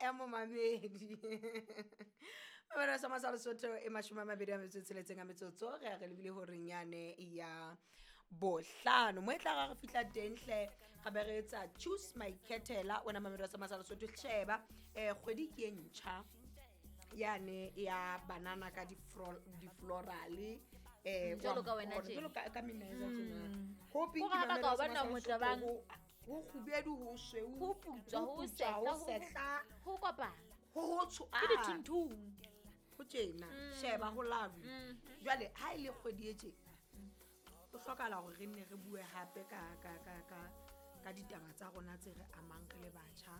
Ya momamedi mabelo sa masa Lesotho e 26 a metsotso, re a re lebile horeng yane ya 5 mo e tla ra re fihla teng hle, re be re etsa choose my ketela. Wena mamedi wa sa masa Lesotho, sheba kgwedi ke e ntjha yane ya banana ka di-florale Jwalo ka wena tje. Jwalo ka Mineza tjena. Ho pink. Hore ha ba Mamedi ka wa o bona Semasa motle Lesotho, bang. Ho kgubedu, ho sweu, Ho putswa, ho ho putswa, sehla, ho sehla, ho kopana. Ho hotsho. Ke dithunthung. Ho tjena, sheba ho lovely. Jwale ha e le kgwedi e tje, ho hlokahala hore re nne re bue hape ka ditaba tsa rona tse re amang re le batjha,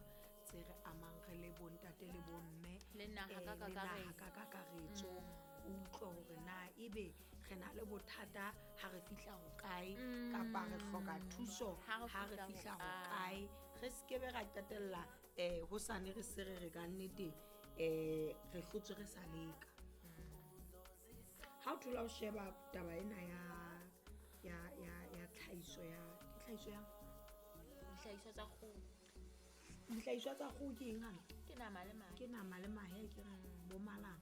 tse re amang re le bontate le bomme, Le naha ka le naha kakaretso. ka kakaretso. O utlwe hore na ebe re na le bothata ha re fihla hokae, kapa re hloka thuso Ha re ha re fihla fihla hokae. hokae, re sekebe ra qetella hosane re se re re ka nnete re hlotswe re sa leka. Ha o thola o sheba taba ena ya tlhahiso ya, ke tlhahiso ya Dihlahiswa tsa kgoho. Dihlahiswa tsa kgoho ke eng hana? Ke nama le mahe. Ke nama le mahe, ke re bo malana.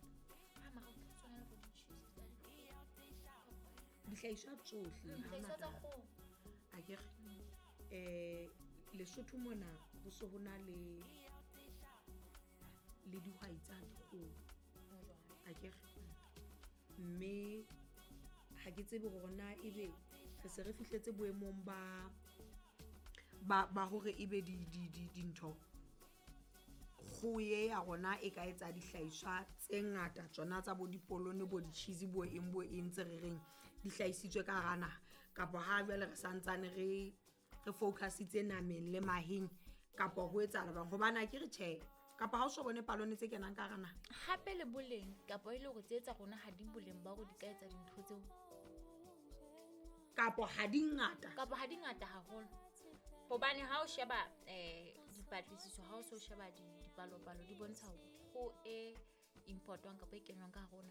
Ah, mara ho tshwana le bo di-cheese tsa Dihlahiswa tsohle Dihlahiswa tsa hangata. kgoho. A ke re Lesotho mona ho se ho na le dihwai tsa dikgoho. Ho jwalo. A ke re mme ha ke tsebe hore na ebe re se re fihletse boemong ba hore ebe di di di dintho kgoho e ya rona e ka etsa dihlahiswa tse ngata, tsona tsa bo dipolone, bo di-cheese, bo eng bo eng tse re reng di hlahisitswe ka hara naha, kapa ha jwale re santsane re focusitse nameng le maheng, kapa ho etsahala jwang? Hobane ha ke re tjhe, kapa ha o so bone palone tse kenang ka hara naha. Hape le boleng, kapa e le hore tse tsa rona ha di boleng ba hore di ka etsa dintho tseo. Kapa ha di ngata. Kapa ha di ngata haholo. Hobane ha o sheba dipatlisiso, ha o so sheba dipalopalo, di bontsha hore kgoho e importwang kapa e kenywang ka hare ho naha.